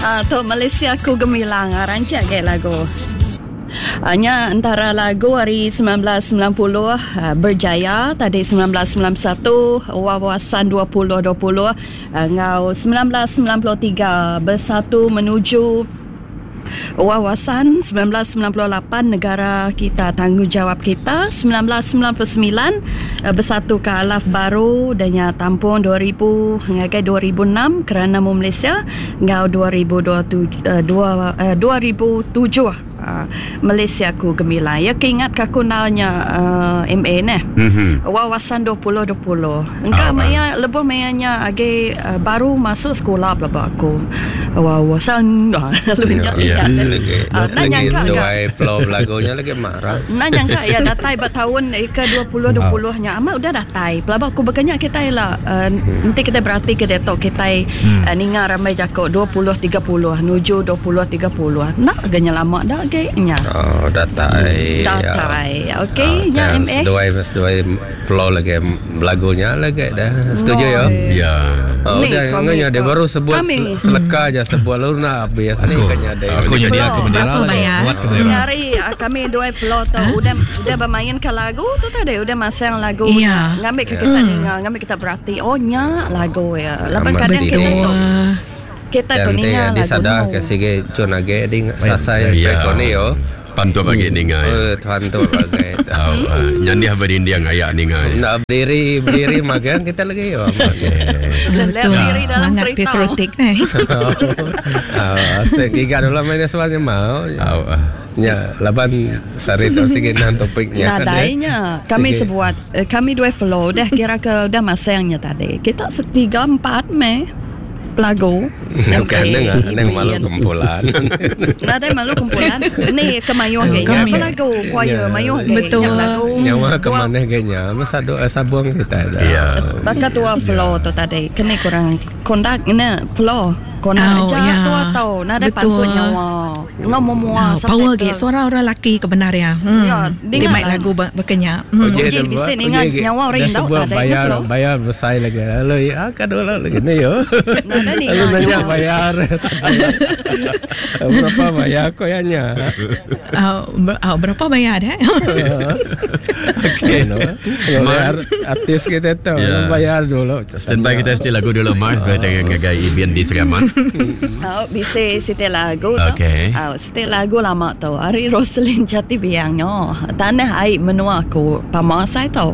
Ah, tu Malaysia ku gemilang. Ah, rancak agi lagu. Ah, nya entara lagu ari 1990 ah, berjaya tadi 1991 wawasan 2020 ah, enggau 1993 bersatu menuju Wawasan 1998 Negara Kita Tanggungjawab Kita 1999 Bersatu ke Alaf Baru udah nya tampung 2000 ngagai 2006 Kerana Mu Malaysia enggau 2027 2007 Malaysia Ku Gemilang. Iya ke ingat ke aku endal nya MA neh. Wawasan 2020. Engka maya lebuh maya nya agi baru masuk sekula pelaba aku. Wawasan lalu nya ingat. Enda nyangka ga. Flow belagu nya lagi marah. Enda nyangka iya datai ba taun ke 2020 nya amat udah datai. Pelaba aku baka nya kitai ila enti kitai berati ke diatu kitai ninga rambai jaku 20 30 nuju 20 30. Enda ga nya lama da agi nya. Oh datai. Datai. Okey nya MA. Seduai seduai Flow lagi belagu nya lagi dah. Setuju ya? Ya. Oh, udah ngenya dia baru sebut seleka aja sebut lalu nak habis ni kan nyadi. Aku nyadi aku bendera lagi. Buat ke bendera. Nyari ah, kami dua flow tu udah udah bermain ke lagu tu tadi udah masang lagu ya. Ngambil ke kita ninga, ngambil kita berhati. Oh nya lagu ya. Laban kadang kita tu kita tu ninga lagu. Disadar ke sige cun agi di sasai rekod ni yo. Pantup agi ninga iya. Eh, pantup agi. Tau uh, nyandih berdinding aya ninga iya. Nak berdiri berdiri magang kita lagi yo. Betul. Semangat patriotik eh. Ah, giga dulu main suaranya mau. Tau. Ya, laban sari tu sigi nang topiknya. Nadainya. Kami sebuat eh, kami dua flow dah kira ke udah masangnya tadi. Kita setiga empat meh lagu. Bukan neng neng malu kumpulan. Nadai malu kumpulan. Ni ke mayuh ge nya apa lagu choir mayuh ge Betul. lagu. Nyawa ke manah ge nya masa doa sabung kita dah. Ya. Baka tua flow tu tadi keni kurang kondak ngena flow. Kondak Oh, aja ya. tua tau nadai Betul. pansut nyawa. Enggau memua Oh, power ge suara orang laki ke benar ya. Hmm. Ya, Ti dengar mai lah. lagu baka nya. Hmm. Uji bisi ninga nyawa orang indu sebuah nadai bayar flow. bayar besar lagi. Lalu ya kan dulu lagi ni yo. Nadai ninga Lalu nanya nyawa. bayar. Berapa bayar ko ya nya? Uh, ber, uh, berapa bayar eh? Okey no. Kalau artis kita tu Ya. bayar dulu. Standby kita still lagu dulu Mars berkaitan dengan ngagai Ibin di Sri Aman. Oh, bisi siti lagu tu. Okey. Oh, siti lagu lama tu. Ari Roselyn Jati Biang nyo. Tanah ai menua aku pama sai tu.